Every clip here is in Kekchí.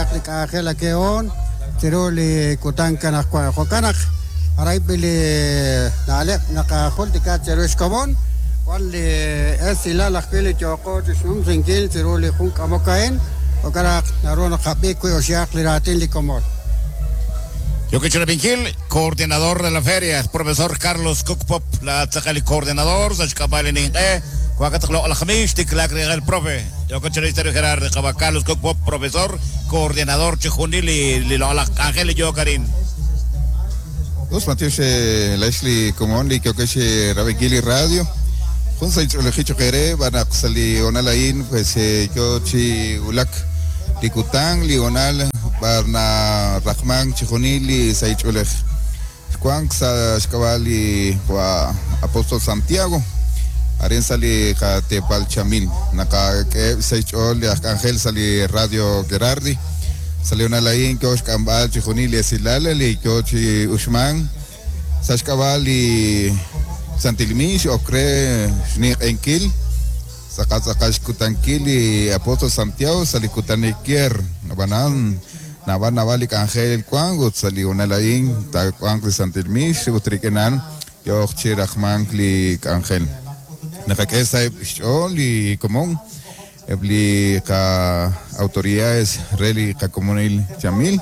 xtiklaaq li k'anjel ake'oon chiru li kutan anaqwan. Jo'kan naq arayb'il li na'leb' naqajultika cheru xkomon, wan li esilal ajwi' li yooqo chi xnumsinkil chiru li jun k'amok a'in, jo'kan naq naru naqab'i wi' oxihaq li raatin li komon. Yooko chi rab'inkil, coordinador de la feria, profesor Carlos Cook Pop, la tz'aqal li coordinador sa' xk'ab'a' li ninq'e, wank loq'laj miix tiklaak rinq'e profe. Yooko chi rab'inkil Gerard, qawa' Carlos Cook Pop, profesor, coordinador chi junil li loq'laj k'anjel li yook arin. Us matiox laa'ex li komon li yookex chi rab'inkil li radio. Jun sahil ch'oolejil choq' eere xb'aan naq sa' li hoonal a'in pues yoo chi wulak li kutan, li hoonal b'ar naraqmank chixjunil li sahil ch'oolej. Xwank sa' xk'ab'a' li qawa' Apostol Santiago, arin sa' li qateepal Chamil. Naqak'eheb' sa' xch'ool li aj k'anjel sa' li Radio Gerardi. Sa' li hoonal a'in yoo xk'amb'al chixjunil li esilal li yoo chi uxmank sa' xk'ab'a' li Santil Miix ok re xninq'ehinkil tz'aqal tz'aqal xkutankil li Apostol Santiago sa' li kutanik Kier. Ab'anan, naab'al naab'al li k'anjel wank ut sa' li hoonal a'in taawanq li Santil Miix ut rik'in a'an yooq chi raqmank li k'anjel. Naqak'e sa'eb' xch'ool li komon, eb' li qa'autoridades re li qakomonil Chamil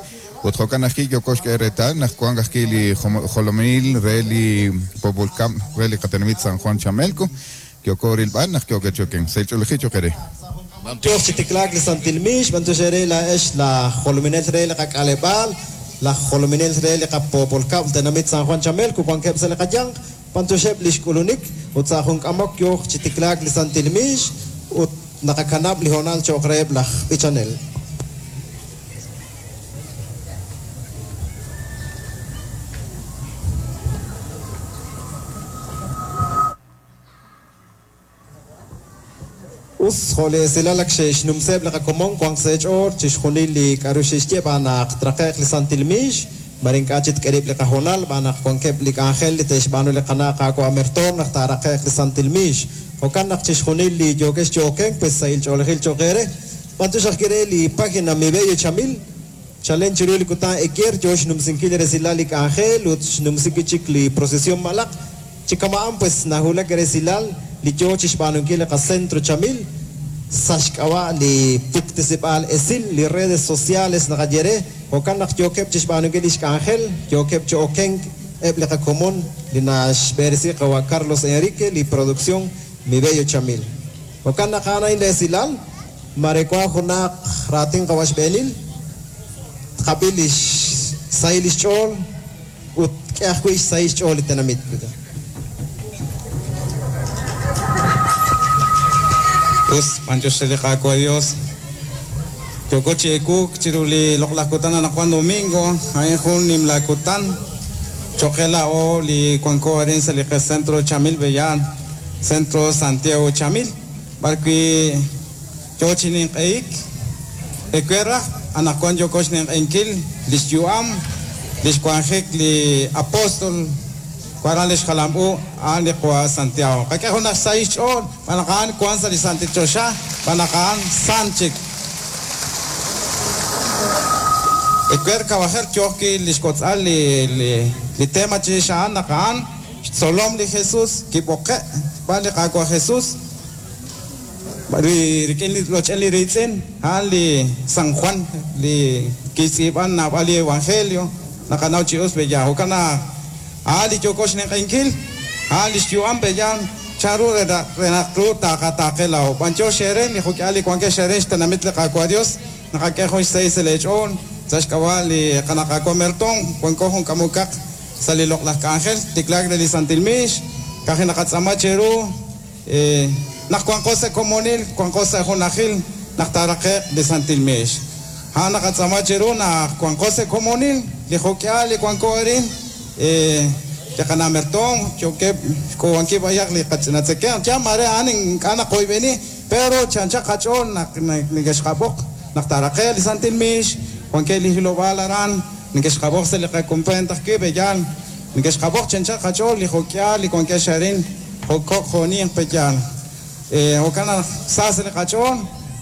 ut jo'kan ajwi' yooko xk'e reetal naq wank ajwi' li jolomil re li Poopol Kab'l re li qatenamit San Juan Chamelco yooko rilb'al naq yookeb' chi okenk. Sahil ch'oolejil cho'q eere. Yooq chi tiklaak li Santil Miix, b'antiox eere laa'ex laj jolominel re li qak'aleb'aal, laj jolominel re li qapoopol kab'l tenamit San Juan Chamelco wankeb' sa' li qayanq, b'antioxeb' li xk'ulunik ut sa' jun k'amok yooq chi tiklaak li Santil Miix ut naqakanab' li hoonal cho'q reheb' laj b'ichanel. Us, jo' li esilal ak xe'xnumseb' li qakomon wanq sa' eech'ool chixjunil li k'a'ru xe'xye b'aan naq traqe'q li Santil Miix, mare ink'a' chik tk'e rib' li qahoonal b'aan naq wankeb' li k'anjel li te'xb'aanu li qana' Qaawa' Mertoom naq taaraqe'q li Santil Miix. Jo'kan naq chixjunil li yookex chi okenk pues sahil ch'oolejil cho'q eere. B'antiox ajwi' re li página Mi Bello Chamil, chalen chiru li kutan ekier yoo xnumsinkil resilal li k'anjel ut xnumsi wi' chik li procesión malaq. Chi kama'an pues nahulak resilal li yoo chi xb'aanunkil li qacentro Chamil sa' xk'ab'a' li puktesib'aal esil, li redes sociales naqaye re, jo'kan naq yookeb' chi xb'aanunkil li xk'anjel, yookeb' chi okenk eb' li qakomon li naxb'eresi qawa' Carlos Enrique li producción Mi Bello Chamil. Jo'kan naq a'an a'in li esilal, mare wank junaq raatin qawa' xb'eenil, tqab'i li xsahil li xch'ool ut k'e ajwi' xsahil xch'ool li tenamit. Us, b'antiox re li Qaawa' Dios. Yooko chi ewuuk chiru li loq'laj kutan anaqwan domingo, a'in jun nimla kutan cho'q qe laa'o li wanko arin sa' li qacentro Chamil Bellán, Centro Santiago Chamil, b'arwi' yoo chi ninq'ehik. Ewer raj, anaqwan yooko xninq'ehinkil li xyu'am, li xwanjik li apóstol, waran li xjalam u a'an li qawa' Santiago. Qak'e junaq xsahil xch'ool xb'aan naq a'an wank sa' li santil choxa, xb'aan naq a'an sant chik. Ewer kawajer yooq wi' li xkotz'al li tema chirix a'an naq a'an xtzolom li Jesús kib'oqe' xb'aan li Qaawa' Jesús. Rik'in li roch'en li riitz'in, a'an li San Juan li kixtz'iib'an naab'al li Evangelio, naqanaw chi us pe'yaal. Jo'kan naq a'an li yooko xninq'ehinkil, a'an li xyu'am pe'yaal, chanru re naq ru taaqataaqe laa'o. B'antiox eere li jo'k'ihal li wankex arin xtenamit li Qaawa' Dios, naqak'e jun xsahil sa' lee ch'ool sa' xk'ab'a' li qana' Qaawa' Mertoom, wanko jun k'amokaq sa' li loq'laj k'anjel, tiklaak re li Santil Miix, ka'ajwi' naqatz'aama cheru. Naq wanqo sa' komonil, wanqo sa' junajil naq taaraqe'q li santil miix. A'an naqatz'aama cheru naq wanqo sa' komonil, li jo'k'ihal li wanko arin, li qana' mertoom, yookeb' xk'uub'ankil b'ayaq li qach'ina tzekemq. Yaal maare a'an ink'a' naqoyb'eni, pero chi anchal qach'ool naq neke'xqab'oq naq taaraqe'q li santil miix, wankeb' li hilob'aal aran, neke'xqab'oq sa' li qakumpeent ajwi', pe'yaal neke'xqab'oq chi anchal qach'ool li jo'k'ihal li wankex arin. Jo' kok' jo' ninq pe'yaal. Jo'kan naq sa sa' li qach'ool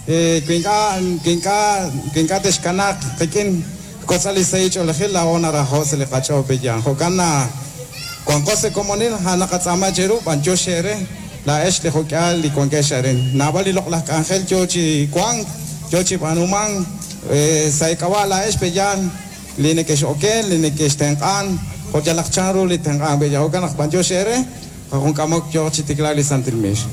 Wi ink'a' wi ink'a' wi ink'a' texkanaaq qik'in xkotz'al li sahil ch'oolejil laa'o naraho' sa' li qach'ool pe'yaal. Jo'kan naq wanqo sa' komonil, a'an naqatz'aama cheru, b'anyox eere laa'ex li jo'k'ihal li wankex arin. Naab'al li loq'laj k'anjel yo chi wank, yo chi b'aanumank sa' eek'ab'a' laa'ex pe'yaal li nekex'oken, li nekextenq'an, jo' yalaq chanru li tenq'ank pe'yaal. Jo'kan naq b'anyox eere, junk'amok yooq chi tiklaak li Santil Miix.